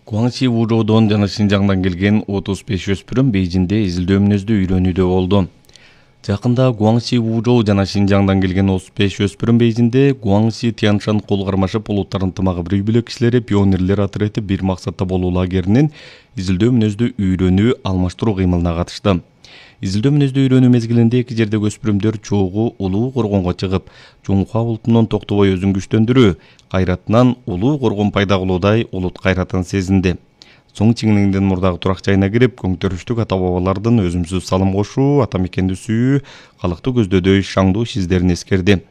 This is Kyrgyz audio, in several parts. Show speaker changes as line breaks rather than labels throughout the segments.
Гуаңси Вужоудон жана Шинжаңдан келген 35 өспүрүм Бейжинде изилдөө мүнөздү үйрөнүүдө болду. Жакында Гуаңси Вужоу жана Шинжаңдан келген 35 өспүрүм Бейжинде Гуаңси Тяншан кол кармашып улуттар ынтымагы бирүү бүлөк кишилери пионерлер отряды бир максатта болуу лагеринин изилдөө мүнөздү үйрөнүү алмаштыруу кыймылына катышты. Изилдөө мүнөздү үйрөнүү мезгилинде эки жердеги өспүрүмдөр чогуу улуу коргонго чыгып, Жуңхуа улутунун токтобой өзүн күчтөндүрүү, кайратынан улуу коргон пайда кылуудай улут кайратын сезинди. Соң Чиңниңдин мурдагы турак жайына кирип, көңтөрүштүк ата бабалардын өзүмсүз салым кошуу, ата мекенди сүйүү, калкты көздөдөй шаңдуу иш издерин эскерди.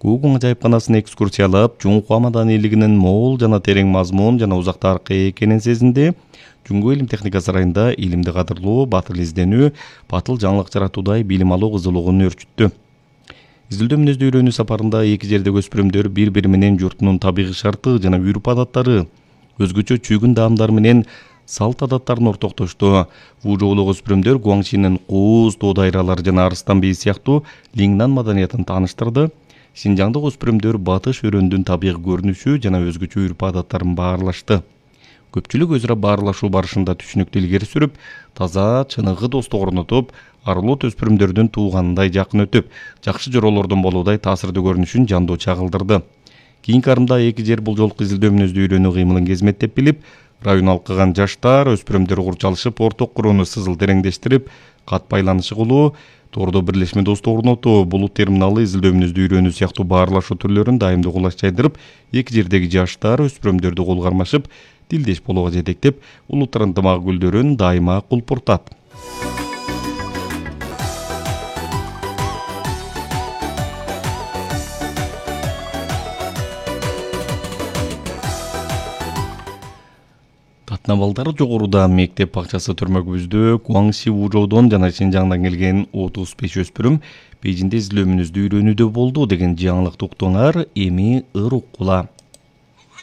Куугун ажайыпканасына экскурсиялап, Жуңхуа маданийлигинин мол жана терең мазмун жана узак тарыхка экенин сезинди. Жуңгу илим техника сарайында илимди кадырлоо, батыл изденүү, батыл жаңылык жаратуудай билим алуу кызуулугун өрчүттү. Изилдөө мүнөздү үйрөнүү сапарында эки жердеги өспүрүмдөр бири-бири менен журтунун табигый шарты жана үрп адаттары, өзгөчө чүйгүн даамдары менен салт адаттарын ортоктошту. Вужоулук өспүрүмдөр Гуаңсинин кууз, тоо дайралары жана арыстан бийи сыяктуу Лиңнан маданиятын тааныштырды. Шинжаңдык өспүрүмдөр батыш өрөөндүн табигый көрүнүшү жана өзгөчө үрп адаттарын баарлашты. Көпчүлүк өз ара баарлашуу барышында түшүнүктү илгери сүрүп, таза, чыныгы достук орнотуп, арулут өспүрүмдөрдүн тууганындай жакын өтүп, жакшы жоролордун болуудай таасирдүү көрүнүшүн жандуу чагылдырды. Кийинки арымда эки жер бул жолку изилдөө мүнөздү үйрөнүү кыймылын кезметтеп билип, район алкыган жаштар өспүрүмдөр курчалышып, орток курууну сызыл тереңдештирип, кат байланышы кылуу, тоордо бирлешме достук орнотуу, булут терминалы, изилдөө мүнөздү үйрөнүү сыяктуу баарлашуу түрлөрүн дайымдуу кулаш жайдырып, эки жердеги жаштар өспүрүмдөрдү кол кармашып, тилдеш болууга жетектеп, улуттар ынтымагы гүлдөрүн дайыма кулпуртат. Татына балдары жогоруда мектеп бакчасы төрмөгүбүздө Гуаңси Вужоудон жана Шинжаңдан келген 35 өспүрүм Бейжинде изилдөө мүнөздү үйрөнүүдө болду деген жаңылыкты уктуңар, эми ыр уккула.